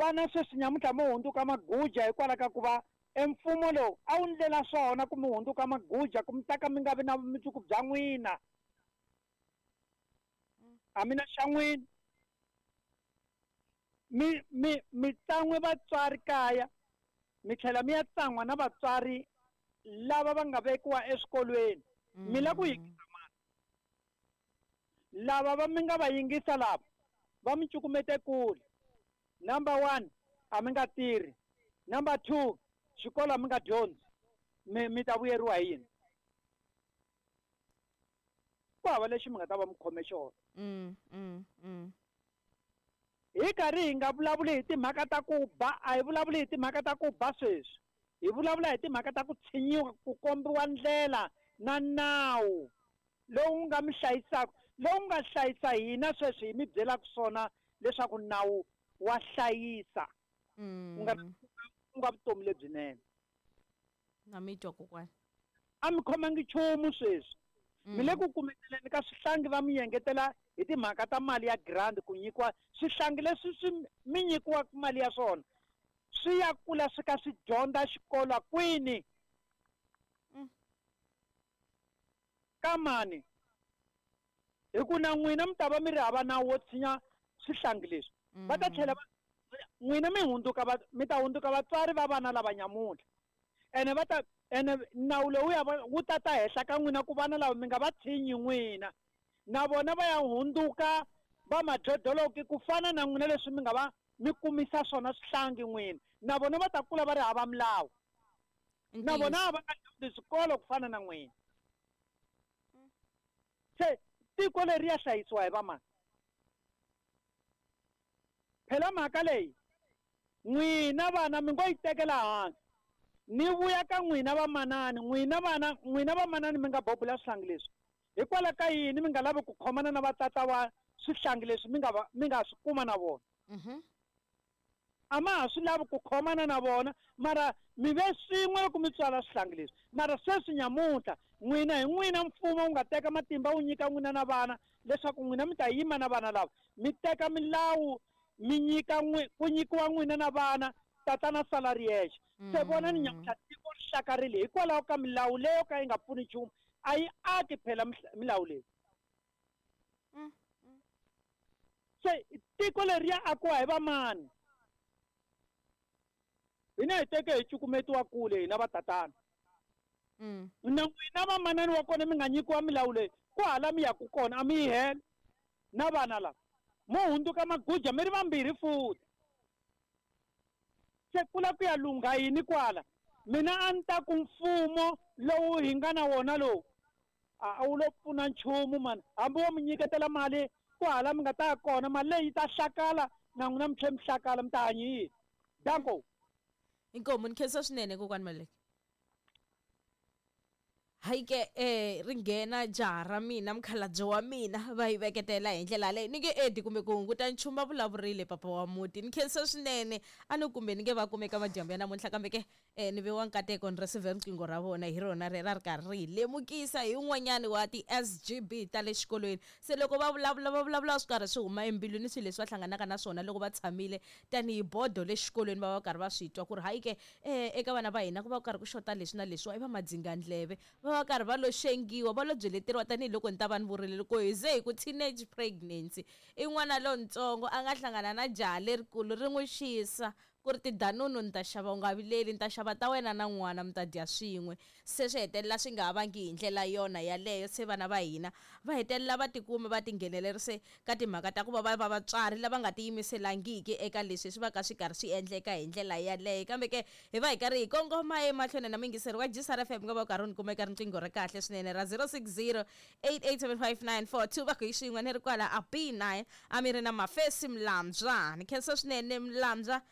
Vana sweswi nyamuntlha mo hundzuka maguja hikwalaho ka ku va emfumo lowu a wu ndlela swona ku mi hundzuka maguja ku mi ta ka mi nga vi na vumundzuku bya n'wina. A mi na xa n'wina. Mi mi mi tsan'we vatswari kaya mi tlhela mi ya tsan'wa na vatswari lava va nga vekiwa eswikolweni. Mi la ku yingisa mani? Lava va mi nga va yingisa lava va mi cukumete kule. Number 1, a mi nga tirhi. Number 2, xikolo a mi nga dyondzi. Mi mi ta vuyeriwa hi yini? Ku hava lexi mi nga ta va mi khome xona. Hi karhi hi nga vulavuli hi timhaka ta ku ba, a hi vulavuli hi timhaka ta ku ba sweswi. Hi vulavula hi timhaka ta ku tshinyiwa, ku kombiwa ndlela na nawu lowu nga mi hlayisaka, lowu nga hlayisa hina sweswi hi mi byelaka swona leswaku nawu wa hlayisa. Ku nga ku nga vutomi lebyinene. Na mi twa kokwana. A mi khomangi nchumu sweswi. Mi le ku kumeteleni ka swihlangi va mi yengetela hi timhaka ta mali ya grant ku nyikiwa swihlangi leswi swi mi nyikiwaka mali ya swona swi ya kula swi ka swi dyondza xikolo kwini. Ka mani? Hi ku na n'wina mi ta va mi ri hava nawu wo tshinya swihlangi leswi. Va ta tlhela va n'wina mi hundzuka va mi ta hundzuka vatswari va vana lava nyamuntlha. Ene va ta ene nawu lowuya wu ta ta henhla ka n'wina ku vana lava mi nga va tshinyi n'wina. Na vona va ya hundzuka va madlodloloki ku fana na n'wina leswi mi nga va mi kumisa swona swihlangi n'wina. Na vona va ta kula va ri hava milawu. Na vona va nga dyondzi swikolo ku fana na n'wina. Se tiko leri ya hlayisiwa hi vamani? Phela mhaka leyi n'wina vana mi ngo yi tekela hansi. Ni vuya ka n'wina vamanani, n'wina vana, n'wina vamanani mi nga bobula swihlangi leswi. Hikwalaho ka yini mi nga lavi ku khomana na vatata wa swihlangi leswi mi nga va mi nga swi kuma na vona? A ma ha swi lavi ku khomana na vona, mara mi ve swin'we loko mi tswala swihlangi leswi. Mara sweswi nyamuntlha n'wina hi n'wina mfumo wu nga teka matimba wu nyika n'wina na vana leswaku n'wina mi ta yima na vana lava. Mi teka milawu mi nyika n'wi ku nyikiwa n'wina na vana tatana sala ri yexe. Se vonani nyamuntlha tiko ri hlakarile hikwalaho ka milawu leyo ka yi nga pfuni nchumu. A yi aki phela milawu leyi. Se tiko leri ya akiwa hi vamani? Hina hi teke hi cukumetiwa kule hina vatatana. Na n'wina vamanani wa kona mi nga nyikiwa milawu leyi, ku hala mi yaku kona a mi yi hela na vana lava. Mo hundzuka maguja mi ri vambirhi futhi. Se ku la ku ya lungha yini kwala? Mina a ni ta ku mfumo lowu hi nga na wona lowu a wu lo pfuna nchumu mani. Hambi wo mi nyiketela mali ku hala mi nga ta ya kona, mali leyi yi ta hlakala na n'wina mi tlhela mi hlakala, mi ta hanya yini? Danko. Inkomu ni khensa swinene kokwani Maluleke. Hayi ke ri nghena jaha ra mina mukhalabye wa mina va yi veketela hi ndlela leyi ni nge edi kumbe ku hunguta nchumu va vulavurile papa wa muti. Ni khensa swinene a ni kumbe ni nge va kumeka madyambu ya namuntlha kambe ke ni ve wa nkateko ni receive riqingho ra vona hi rona rera ri karhi ri hi lemukisa hi un'wanyani wa ti-S_G_B ta le xikolweni. Se loko va vulavula va vulavula swi karhi swi huma embilwini swilo leswi va hlanganaka na swona loko va tshamile tanihi bodo le xikolweni va va karhi va swi twa ku ri hayi ke eka vana va hina ku va ku karhi ku xota leswi na leswiwa i va madzingandleve va va karhi va lo xengiwa va lo byeleteriwa tanihiloko ni ta va ni vurile loko hi ze hi ku teenage pregnancy i n'wana lontsongo a nga hlangana na jaha lerikulu ri n'wi xisa ku ri tidanunu ni ta xava u nga vileli ni ta xava ta wena na n'wana mi ta dya swin'we. Se swi hetelela swi nga ha vangi hi ndlela yona yaleyo se vana va hina va hetelela va tikuma va tinghenelerise ka timhaka ta ku va va va vatswari lava nga tiyimiselangiki eka leswi swi va ka swi karhi swi endleka hi ndlela yaleyo. Kambe ke hi va hi karhi hi kongoma emahlweni na muyingiseri wa Gsar F_M nga va u karhi u ni kuma eka riqingho ra kahle swinene ra 060 8875942 va ku hi xin'we ni ri kwala a B9 a mi ri na Mafesi Mlambya. Ni khensa swinene Mlambya.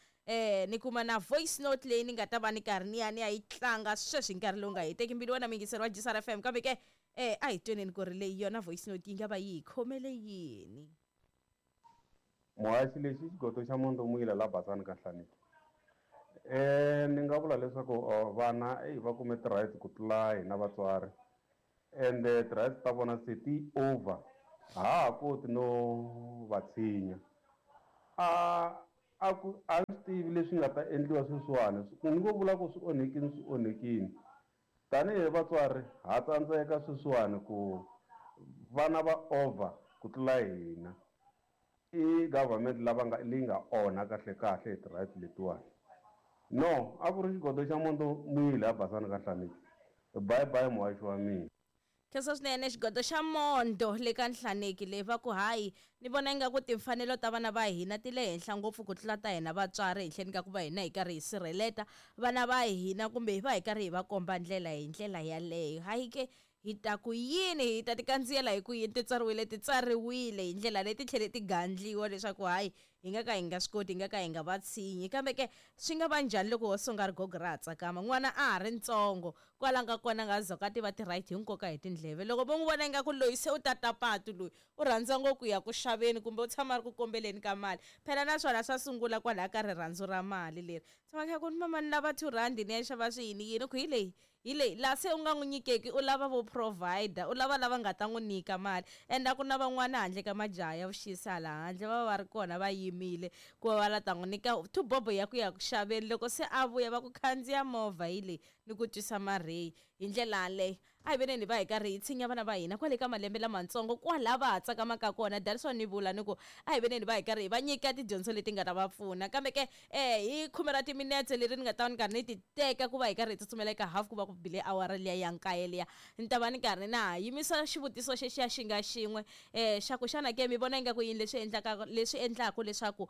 Ni kuma na voice note leyi ni nga ta va ni karhi ni ya ni ya yi tlanga sweswi hi nkarhi lowu nga heteki mbilu wena muyingiseri wa Gsar F_M kambe ke a hi tweneni ku ri leyi yona voice note yi nga va yi hi khomele yini. Muhaxi lexi xigoto xa Mondomwila la Basani ka Hlaneki. Ni nga vula leswaku vana eyi va kume ti-rights ku tlula hina vatswari ende ti-rights ta vona se ti over ha ha koti no va tshinya. A A ku a swi tivi leswi nga ta endliwa sweswiwani, ni ngo vula ku swi onhekini swi onhekini. Tanihi vatswari ha tsandzeka sweswiwani ku vana va over ku tlula hina. I government lava nga leyi nga onha kahle kahle hi ti-rights letiwani. No, a ku ri xigodo xa Mondo Muyile a Basani ka Nhlaneki. Bye bye muhaxi wa mina. Khensa swinene xigodo xa Mondo le ka Nhlaneki leyi va ku hayi ni vona ingaku timfanelo ta vana va hina ti le henhla ngopfu ku tlula ta hina vatswari henhleni ka ku va hina hi karhi hi sirheleta vana va hina kumbe hi va hi karhi hi va komba ndlela hi ndlela yaleyo. Hayi ke hi ta ku yini hi ta ti kandziyela hi ku yini ti tsariwile ti tsariwile hi ndlela leyi ti tlhele ti gandliwa leswaku hayi hi nga ka hi nga swi koti hi nga ka hi nga va tshinyi kambe ke swi nga va njhani loko ho songa rigogo ra ha tsakama n'wana a ha ri ntsongo kwala nga kona nga zoka tiva ti-right hi nkoka hi tindleve loko vo n'wi vona ingaku loyi se u tata patu loyi u rhandza ngopfu ku ya ku xaveni kumbe u tshama a ri ku kombeleni ka mali phela naswona swa sungula kwalaya ka rirhandzu ra mali leri tshama kha ku ni mama ni lava R2 ni ya xava swiyini yini ku hi leyi hi leyi laha se u nga n'wi nyikeki u lava vo provider u lava lava nga ta n'wi nyika mali and a ku na van'wana handle ka majaha ya vuxisi hala handle va va va ri kona va yimile ku va va la ta n'wi nyika thubobo ya ku ya ku xaveni loko se a vuya va ku khandziya movha hi leyi ni ku twisa marheyi hi ndlela yaleyo a hi veneni hi va hi karhi hi tshinya vana va hina kwale ka malembe lamatsongo kwala va ha tsakamaka kona that's why ni vula ni ku a hi veneni hi va hi karhi hi va nyika tidyondzo leti nga ta va pfuna kambe ke hi khume ra timinetse leri ni nga ta va ni karhi ni ti teka ku va hi karhi hi tsutsumela eka half ku va ku bile awara liya ya nkaye liya ni ta va ni karhi na ha yimisa xivutiso xexiya xi nga xin'we xa ku xana ke mi vona ingaku yini leswi endlaka leswi endlaka leswaku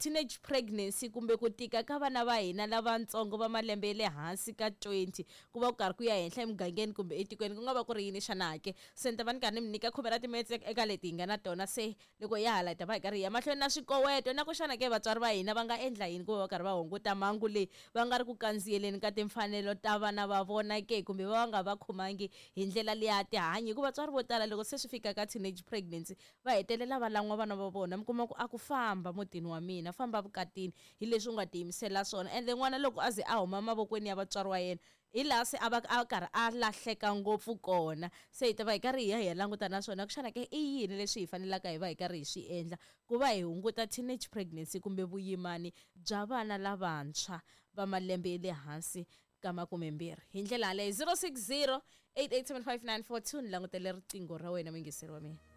teenage pregnancy kumbe ku tika ka vana va hina lavatsongo va malembe ya le hansi ka 20 ku va ku karhi ku ya henhla emugangeni kumbe etikweni ku nga va ku ri yini xana ke se ni ta va ni karhi ni mi nyika khume ra timinetse eka leti hi nga na tona se loko ya hala hi ta va hi karhi hi ya mahlweni na swikoweto na ku xana ke vatswari va hina va nga endla yini ku va va karhi va hunguta mhangu leyi va nga ri ku kandziyeleni ka timfanelo ta vana va vona ke kumbe va va nga va khomangi hi ndlela leya tihanyi hikuva vatswari vo tala loko se swi fika ka teenage pregnancy va hetelela va lan'wa vana va vona mi kuma ku a ku famba mutini wa mina famba vukatini hi leswi u nga tiyimisela swona ende n'wana loko a ze a huma mavokweni ya vatswari wa yena hi laha se a va a karhi a lahleka ngopfu kona se hi ta va hi karhi hi ya hi ya languta na swona ku xana ke i yini leswi hi fanelaka hi va hi karhi hi swi endla ku va hi hunguta teenage pregnancy kumbe vuyimani bya vana lavantshwa va malembe ya le hansi ka makumembirhi hi ndlela yaleyo 060 8875942 ni langutele riqingho ra wena muyingiseri wa mina.